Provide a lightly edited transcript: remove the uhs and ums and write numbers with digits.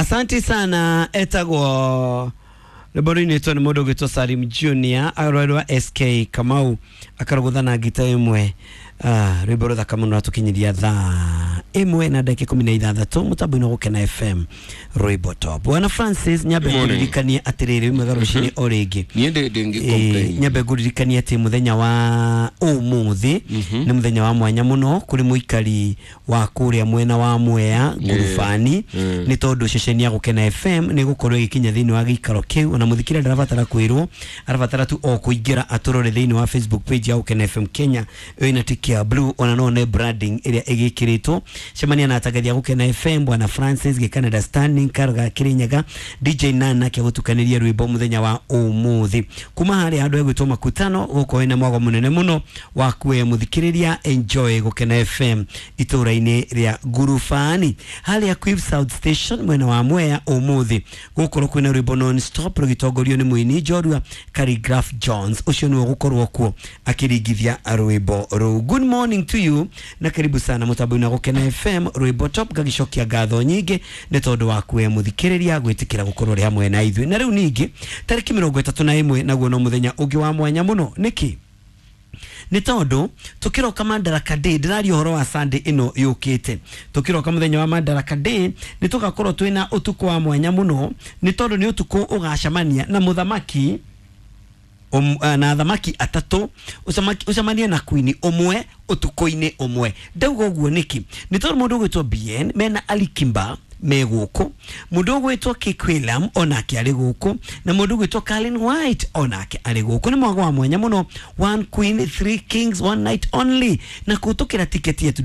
Asante sana. Etagwo rwĩmbo rũinĩtwo nĩ mũndũ ũgwĩtwo Salim Junior, arwerwa SK Kamau akarũgũtha na ngita ĩmwe. Ah, rwĩmbo rũthaka mũno ratũkinyĩria thaa 1 na ndagĩka 16 mũtambo-inĩ wa Gũkena FM, rwĩmbo top. Bwana Francis, nyambe Good morning. ngũririkanie atĩrĩrĩ, wĩ mwega rũcinĩ o rĩngĩ. Niĩ ndĩ complain. Nyambe ngũririkanie atĩ mũthenya wa ũmũthĩ nĩ mũthenya wa mwanya mũno kũrĩ mũikari wa kũrĩa mwena wa Mwea Ngurubani, nĩ tondũ ceceni ya Gũkena FM nĩ gũkorwo ĩgĩkinya thĩinĩ wa gĩikaro kĩu. Ona mũthikĩrĩria ndarabatara kwĩrwo, arabatara tu o kũingĩra atũrore thĩinĩ wa Facebook page ya Gũkena FM Kenya ĩna tiki ya blue, ona no one branding ĩrĩa ĩgĩkĩrĩtwo. Cemania na atangathi a Gũkena FM, Bwana Francis Gĩkanada, Standing Karga Kirinyaga, DJ Nana akĩgũtukanĩria rwĩmbo mũthenya wa ũmũthĩ kuma harĩa handũ hegwĩtwo Makutano. Gũkorwo na mwago mũnene mũno wa kuoya mũthikĩrĩria enjoy Gũkena FM itũũra-inĩ rĩa Ngurubani, harĩa Quiv South Station mwena wa Mwea. Ũmũthĩ gũkorwo kwĩna rwĩmbo non stop rũgĩtongorio nĩ mũini njorua Khaligraph Jones. Ũcio nĩwe ũgũkorwo kuo akĩringithia rwĩmbo rũu. Good morning to you na karibu sana mũtambo-inĩ wa Gũkena FM, rwĩmbo top. Ngagĩcokia ngatho nyingĩ nĩ tondũ wa kuoya mũthikĩrĩria gwĩtĩkĩra gũkorwo rĩ hamwe na ithuĩ. Na rĩu ningĩ tarĩki 31 naguo no mũthenya ũngĩ wa mwanya mũno. Nĩkĩ? Nĩ tondũ tũkĩroka Madaraka Day, ndĩraria ũhoro wa Sunday ĩno yũkĩte, tũkĩroka mũthenya wa Madaraka Day nĩ tũgakorwo twĩna ũtukũ wa mwanya mũno, nĩ tondũ nĩ ũtukũ ũgacemania na mũthamaki na thamaki atatũ, ũcemanie na queen ũmwe ũtukũ-inĩ ũmwe. Ndauga ũguo nĩkĩ? Nĩ tondũ mũndũ ũgwĩtwo Bien mena Alikimba me gũkũ, mũndũ ũgwĩtwo Kikwilam onake arĩ gũkũ, na mũndũ ũgwĩtwo Carlin White onake arĩ gũkũ. Nĩ mwago wa mwanya mũno, one queen, three kings, one night only, na kũhĩtũkĩra tiketi yetu.